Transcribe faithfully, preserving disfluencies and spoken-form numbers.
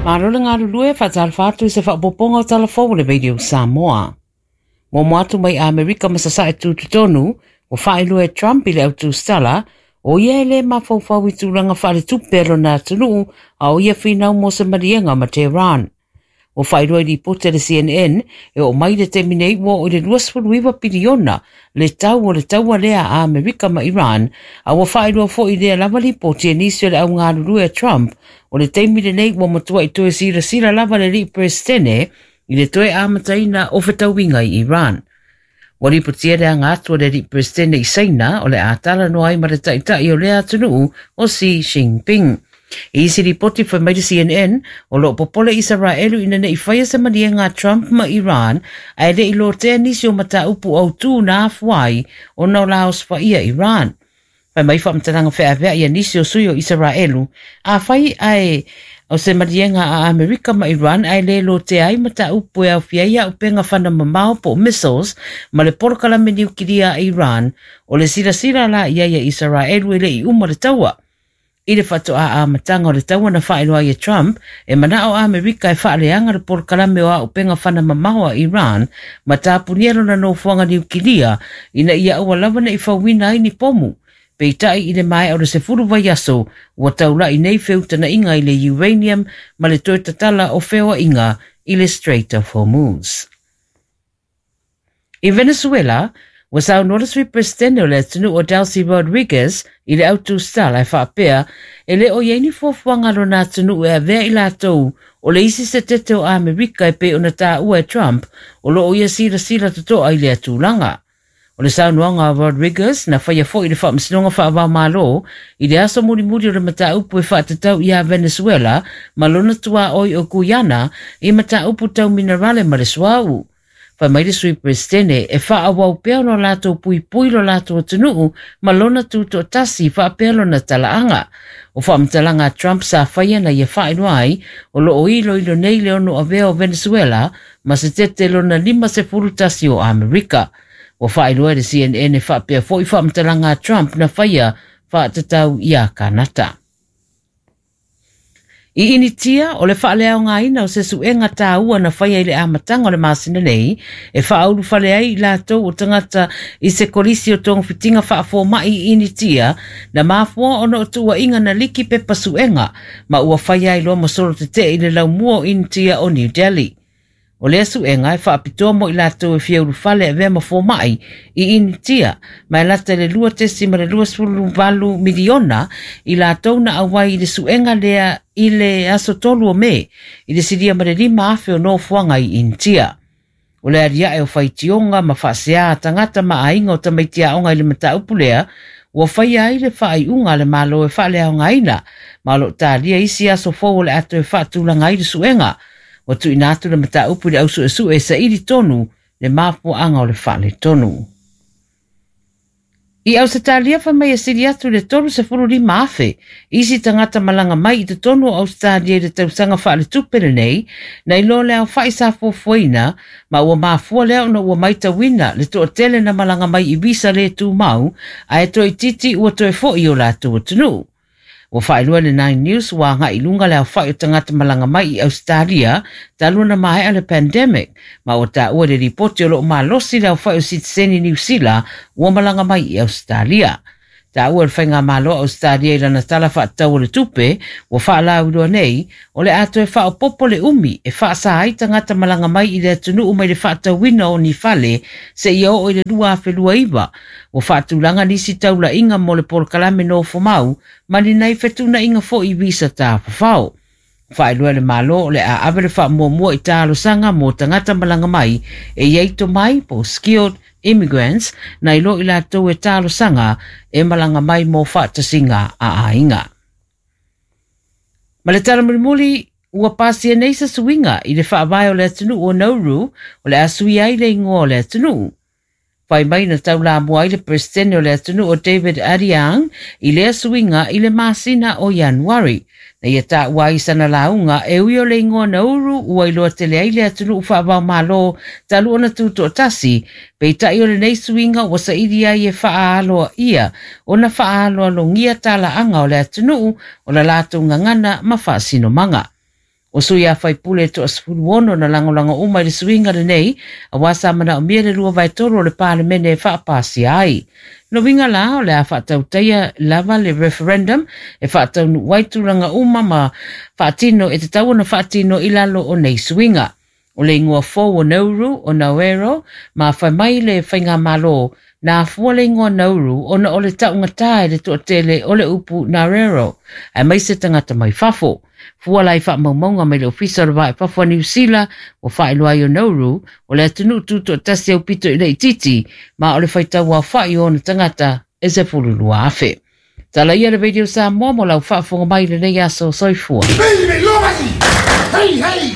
Malo le galulue faatalofa atu i se faaopoopoga o Tala Fou o le Radio Samoa. Muamua atu mai Amerika ma Sasae tutotonu, ua faailoa e Trump i le autusala, o ia e le mafaufau i tulaga faaletupe a lona atunuu a o ia finau mo se maliega ma Tehran. Ua faailoa i lipoti a le C N N e oo mai le taimi nei ua oo i le luasefuluiva piliona le tau o le taua lea a Amerika ma Iran, a ua faailoa foi lea lava lipoti e nisi o le augalulue a Trump o le taimi lenei ua matuai toe silasila lava le alii Peresetene i le toe amataina o fetauiga i Iran. Ua lipotia le aga atu o le alii Peresetene i Saina o le a talanoa ai ma le taitai o lea atunuu o Xi Jinping. I isi lipoti fai mai le C N N, o loo popole Isaraelu ina nei faia se maliega a Trump ma Iran, ae le i lotea nisi o mataupu autū na afua ai ona o la osofai'a Iran. Fai mai faamatalaga feaveai a nisi o sui o Isaraelu, a fai ae o se maliega a Amerika ma Iran ae le lotea ai mataupu e aofia ai auupega fana mamao po o missiles ma le polokalame niukilia a Iran, o le silasila la i ai a Isaraelu e le i uma le taua. I le faatoa amataga o le taua na faailoa ai e Trump, e manao a Amerika e faaleaga le polokalame o auupega fana mamao a Iran ma tapunia lona nofoaga niukilia ina ia aua lava nei fauina ai ni pomu. Peitai i le maea o le sefulu vaiaso, ua taulai nei feutanaiga i le uranium ma le toe tatala o feoaiga i le Strait of Hormuz. I Venezuela, ua saunoa le sui Peresetene o le atunuu o Delcy Rodriguez i le autusala e faapea e le o i ai ni fuafuaga a lona atunuu e avea i latou o le isi se tete o Amerika e pei ona taua e Trump o loo ia silasila totoa i lea tulaga. O le saunoaga a Rodriguez na faia foi i le faamasinoga faavaomalo i le aso mulimuli o le mataupu e faatatau ia Venezuela ma lona tuaoi o Guyana i mataupu tau minerale ma le suauu. Fai mai le sui Peresetene e faaauau pea ona latou puipui lo latou atunuu ma lona tutoatasi faapea lona talaaga. O faamatalaga a Trump sa faia na ia faailoa ai o loo iloilo nei le ono avea o Venezuela ma se tete lona lima sefulu tasi o Amerika. Ua faailoa e le C N N e faapea foi faamatalaga a Trump na faia faatatau ia Kanata. I Initia, o le faaleaogaina o se suega tāua na faia i le amataga o le masina nei, e faaulufale ai i latou o tagata i se kolisi o togafitiga faafoma'i i Initia, na mafua ona o tuuaiga na liki pepa suega, ma ua faia ai loa ma solo tetee i le laumua o Initia o New Delhi. O lea suega e faapitoa mo i latou e fia ulufale avea ma foma'i i Initia, ma e lata i le lua tesi ma le luasefulu valu miliona i latou na auai i le suega lea i le aso tolu o Me, i le silia ma le lima afe o nofoaga i Initia. O le aliae o faitioga ma faasea a tagata ma aiga o tamaitiaoga i le mataupu lea, ua faia ai le faaiuga a le Malo e faaleaogaina, ma o loo talia isi aso fou o le ato e faatulaga ai le suega. Ua tuuina atu le mataupu i le ausuesue e saili tonu le mafuaaga o le faaletonu. I Ausetalia fai mai e sili atu le tolu sefulu lima afe isi tagata malaga mai i totonu o Ausetalia i le tausaga faaletupe lenei, na iloa le aofa'i sa fuafuaina, ma ua mafua lea ona ua maitauina le toatele na malaga mai i visa le tumau, ae toeitiiti ua toe fo'i i o latou atunuu. Ua faailoa le Nine News ua agai i luga le aofa'i o tagata malaga mai i Australia talu ona maea le pandemic, ma ua taua le lipoti o loo malosi le aofa'i o sitiseni Niu Sila ua malaga mai i Australia. Taua le faigamalo a Australia i lana tala faatatau o le tupe, ua faalauiloa nei, o le a toe faaopoopo le umi e faasa ai tagata malaga mai i le atunuu mai le faatauina o ni fale seia oo i le lua afe lua iva. Ua faatulaga nisi taulaiga mo le polokalame nofomau ma ni nai fetuunaiga foi i visa tafafao. Faailoa le Malo o le a ave le faamuamua i talosaga mo tagata malaga mai e iai tomai po o skilled immigrants na iloa i latou e talosaga e malaga mai mo faatasiga a aiga. Ma le tala mulimuli, ua pasia nei se suiga i le faavae o le atunuu o Nauru o le a sui ai le igoa o le atunuu. Fai mai na taulamua ai le Peresetene o le atunuu o David Adeang i lea suiga i le masina o Ianuari. Na ia taua ai sana lauga e ui o le igoa Nauru ua iloa tele ai le atunuu faavaomalo talu ona tutoatasi, peitai o lenei suiga ua saili ai e faaaloa ia ona faaaloalogia talaaga o le atunuu o la latou gagana ma faasinomaga. O sui a faipule toasefulu ono na lagolago uma i le suiga lenei, auā sa manaomia le lua vaetolu o le Palemene e faapasia ai. Lona uiga la o le a faatautaia lava le referendum e faataunuuʻi ai tulaga uma ma faatino e tatau ona faatino i lalo o nei suiga. O le igoa fou o Nauru o Naoero, ma fai mai le faigamālō na afua le igoa Nauru ona o le taʻugatā e le toatele o le upu Narero, aemaise tagata mai fafo. Fua la i faamaumauga mai le Ofisa o le Vaa i Fafo a Niu Sila, ua faailoa ai o Nauru o le atunuu tutoatasi aupito i le itiiti, ma o le faitau aofaʻi o ona tagata e sefululua afe. Tala ia le Radio Samoa mo lau faafofoga mai i lenei aso. Soifua. Hey, hey,